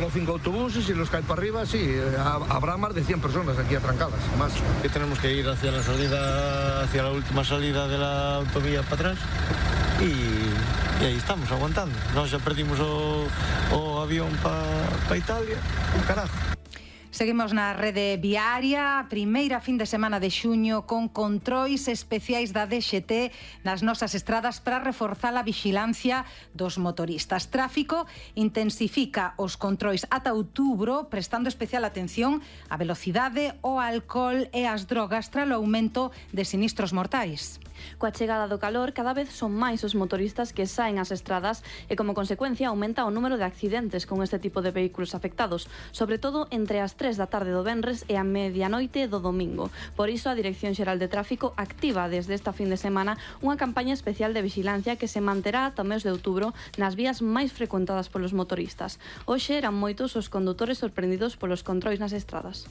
Los 5 autobuses y los caen para arriba, sí, habrá más de 100 personas aquí atrancadas, más. Que tenemos que ir hacia la salida, hacia la última salida de la autovía para atrás y aí estamos aguantando. Nós xa perdimos o avión para Italia, un carajo. Seguimos na rede viaria, primeira fin de semana de xuño con controis especiais da DXT nas nosas estradas para reforzar a vixilancia dos motoristas. Tráfico intensifica os controis ata outubro, prestando especial atención á velocidade, ao alcohol e ás drogas tras o aumento de sinistros mortais. Coa chegada do calor, cada vez son máis os motoristas que saen ás estradas e, como consecuencia, aumenta o número de accidentes con este tipo de vehículos afectados, sobre todo entre as 3 da tarde do venres e a medianoite do domingo. Por iso, a Dirección Xeral de Tráfico activa desde esta fin de semana unha campaña especial de vixilancia que se manterá ata o mes de outubro nas vías máis frecuentadas polos motoristas. Hoxe eran moitos os condutores sorprendidos polos controis nas estradas.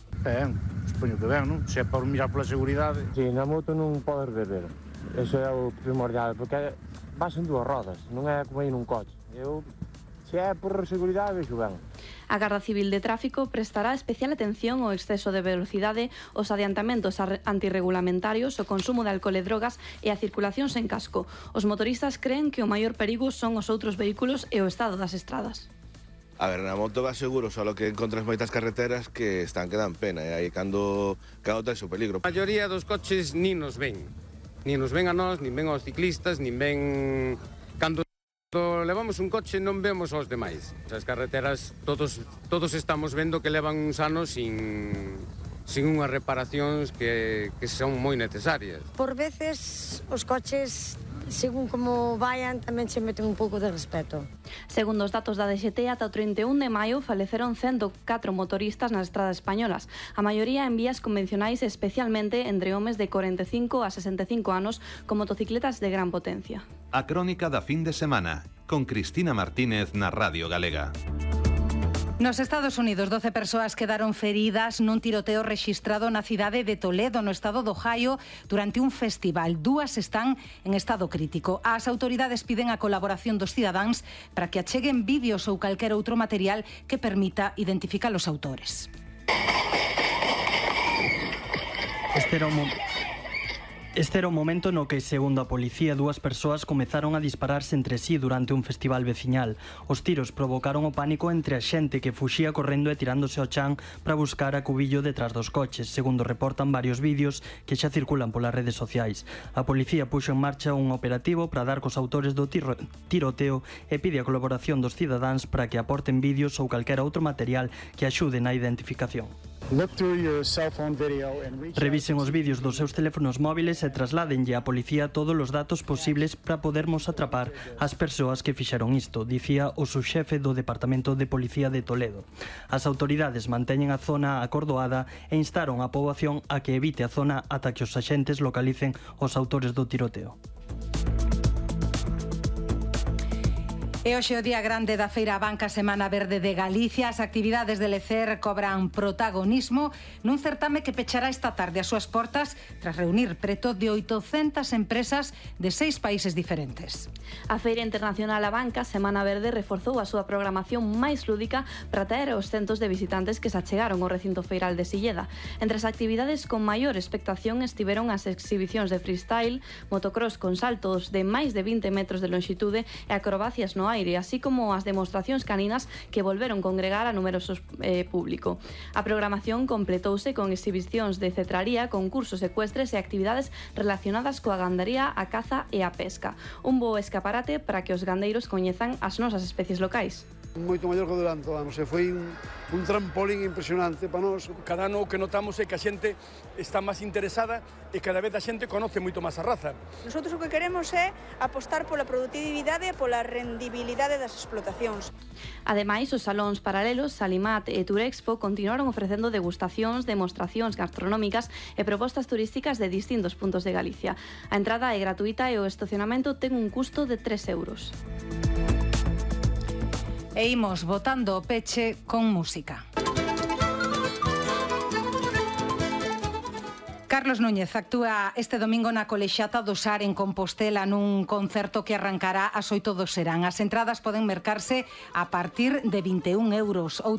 Supoño que ben, non? Se é para mirar pola seguridade. Si, na moto non podes beber. Eso é o primordial, porque vas en dúas rodas, non é como ir nun coche. Se é por seguridade, vexo ben. A Garda Civil de Tráfico prestará especial atención ao exceso de velocidade, os adiantamentos antirregulamentarios, o consumo de alcohol e drogas e a circulación sen casco. Os motoristas creen que o maior perigo son os outros vehículos e o estado das estradas. A ver, na moto vas seguro, só que encontras moitas carreteras que están que dan pena, e aí cando tes o peligro. A maioría dos coches nin nos ven a nós, nin ven aos ciclistas, nin ven... Cando levamos un coche non vemos aos demais. As carreteras todos estamos vendo que levan uns anos sin unhas reparacións que son moi necesarias. Por veces os coches, según como vayan, tamén se meten un pouco de respeto. Segundo os datos da DXT, ata o 31 de maio faleceron 104 motoristas nas estradas españolas, a maioría en vías convencionais, especialmente entre homes de 45 a 65 anos con motocicletas de gran potencia. A crónica da fin de semana, con Cristina Martínez na Radio Galega. Nos Estados Unidos, 12 persoas quedaron feridas nun tiroteo rexistrado na cidade de Toledo, no estado do Ohio, durante un festival. 2 están en estado crítico. As autoridades piden a colaboración dos cidadáns para que acheguen vídeos ou calquer outro material que permita identificar os autores. Este era o momento no que, segundo a policía, 2 persoas comezaron a dispararse entre sí durante un festival veciñal. Os tiros provocaron o pánico entre a xente que fuxía correndo e tirándose ao chan para buscar a cubillo detrás dos coches, segundo reportan varios vídeos que xa circulan polas redes sociais. A policía puxo en marcha un operativo para dar cos autores do tiroteo e pide a colaboración dos cidadáns para que aporten vídeos ou calquera outro material que axude na identificación. Revisen os vídeos dos seus teléfonos móviles e trasladenlle á policía todos os datos posibles para podermos atrapar as persoas que fixeron isto, dicía o subxefe do Departamento de Policía de Toledo. As autoridades manteñen a zona acordoada e instaron a poboación a que evite a zona ata que os axentes localicen os autores do tiroteo. E hoxe o día grande da Feira Banca Semana Verde de Galicia. As actividades de Lecer cobran protagonismo nun certame que pechará esta tarde as súas portas tras reunir preto de 800 empresas de 6 países diferentes. A Feira Internacional A Banca Semana Verde reforzou a súa programación máis lúdica para atraer aos centos de visitantes que se achegaron ao recinto feiral de Silleda. Entre as actividades con maior expectación estiveron as exhibicións de freestyle, motocross con saltos de máis de 20 metros de longitude e acrobacias no aire, así como as demostracións caninas que volveron congregar a numeroso público. A programación completouse con exhibicións de cetraría, concursos ecuestres e actividades relacionadas coa gandaría, a caza e a pesca. Un bo escaparate para que os gandeiros coñezan as nosas especies locais. Moito maior que durante o ano, foi un trampolín impresionante para nós. Cada ano o que notamos é que a xente está máis interesada e cada vez a xente conoce moito máis a raza. Nosotros o que queremos é apostar pola produtividade e pola rendibilidade das explotacións. Ademais, os salóns paralelos Salimat e Turexpo continuaron ofrecendo degustacións, demostracións gastronómicas e propostas turísticas de distintos puntos de Galicia. A entrada é gratuita e o estacionamento ten un custo de 3 euros. E imos botando o peche con música. Carlos Núñez actúa este domingo na Colexiata do Sar en Compostela nun concerto que arrancará ás 8 do serán. As entradas poden mercarse a partir de 21 euros. Outra